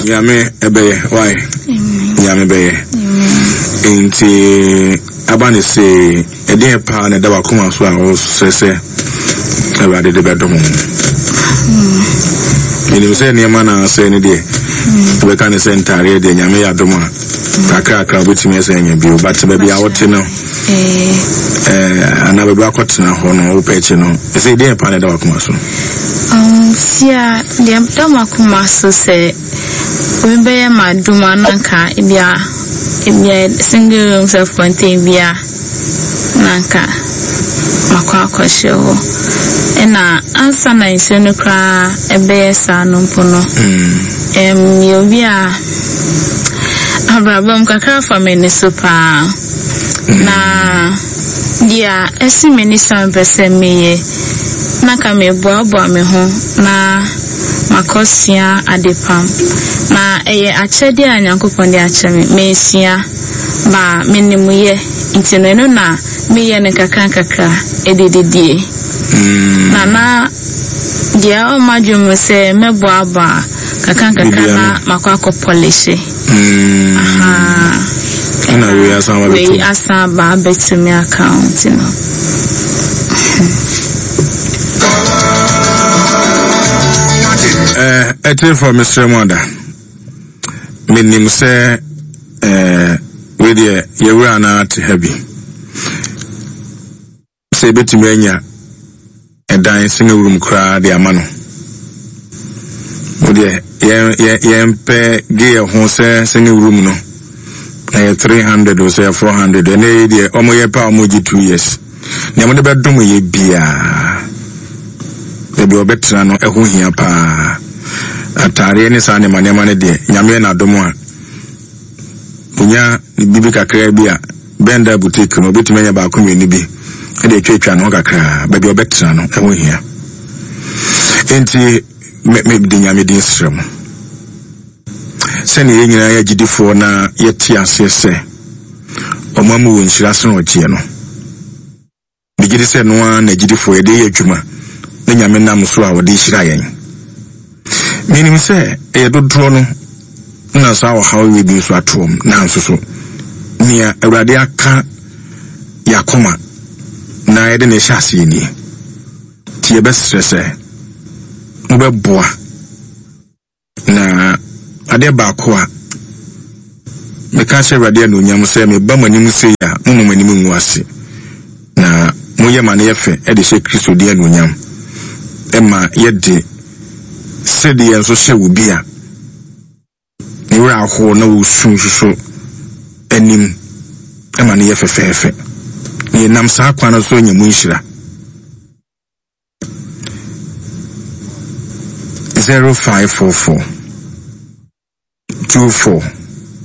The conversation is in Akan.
Nyame ɛbɛyɛ why? Nyame bɛyɛ. Nti aba ne se ɛdeɛn paa na ɛda wakoma so a wɔsrɛ sɛ Awurade de bɛdom wo. Menim sɛ nneɛma na asɛe no deɛ wobɛka ne sɛ ntaareɛ deɛ Nyame yɛ adom a kakrakra wobɛtumi ɛsɛ anya bio but baabi a wote no eh, anaa baabi akɔtena hɔ no wopɛ akyi no ɛsɛ deɛn paa na ɛda wakoma so? Sia deɛ ɛda m'akoma so sɛ obi bɛyɛ m'adom a na anka ebia ebia single room self contained bi a na anka makɔ akɔhyɛ hɔ. Ɛna ansa na nsuo no koraa ɛbɛyɛ saa no mpo no, ɛm meyɛ obi a abrabɔ mu kakra fa m'ani so paa. Na deɛ ɛsi m'ani so a mepɛ sɛ meyɛ na anka meboaboa me ho na makɔsua adepam. Na ɛyɛ akyɛdeɛ a Nyankopɔn de akyɛ me. Mesua, ba menim yɛ, nti no ɛno na meyɛ no nkakrankakra de didie. Na na deɛ ɛwɔ m'adwene mu sɛ mɛboaboa nkakrankakra na makɔ akɔ pɔlehye. Ahaa. Ɛna wei asan aba bɛtum. Wei asan aba abɛtumi aka ho nti no. Eh, ɛtiefo mesrɛ mu ada. Menim sɛ eh, wei deɛ yɛwura no ate ha bi. Sɛ yɛbɛtumi anya ɛdan single room koraa de ama no. Wo deɛ yɛn yɛn yɛmpɛ gye yɛ ho sɛ single room no ɛyɛ 300 o sɛ ɛyɛ 400 ɛnɛ yi deɛ wɔn yɛ pɛ a wɔn gye 2 years. Nea wɔde bɛdom yɛ biara baabi a wɔbɛtena no ɛho hia paa. Ataareɛ ne saa nneɛma nneɛma no deɛ Nyame yɛ n'adom a onya biribi kakraa bi a Bɛnda boutique no, obetumi anya baako mmienu bi de atwatwa ne ho kakraa. Baabi a ɔbɛtena no, ɛho hia. Enti, me, me de Nyame din srɛ mo. Sɛnea yɛn nyinaa yɛ agyidifoɔ na yɛte aseɛ sɛ ɔma mu wɔ nhyira sene ɔgyeɛ no. Megye di sɛ ɛno ara na agyidifoɔ yɛde yɛ adwuma na Nyame nam so a ɔde hyira yɛn. Menim sɛ ɛyɛ dodoɔ no na saa ɔhaw wei bi nso ato wɔn, nanso so nea Awurade aka yɛn akoma na yɛde no rehyɛ aseɛ nie. Nti yɛbɛsrɛ sɛ mobɛboa. Na adeɛ baako a meka ahyɛ Awurade anuonyam sɛ meba mo anim sei a, momma mo anim ngu ase, na moyɛ ma no yɛ fɛ de hyɛ Kristo din anuonyam, ɛma yɛde sɛdeɛ nso hyɛ obi a ne werɛ ahow na ɔresu nso so anim ma no yɛ fɛfɛɛfɛ. Na yɛnam saa kwan no so anya mu nhyira. 0544 24.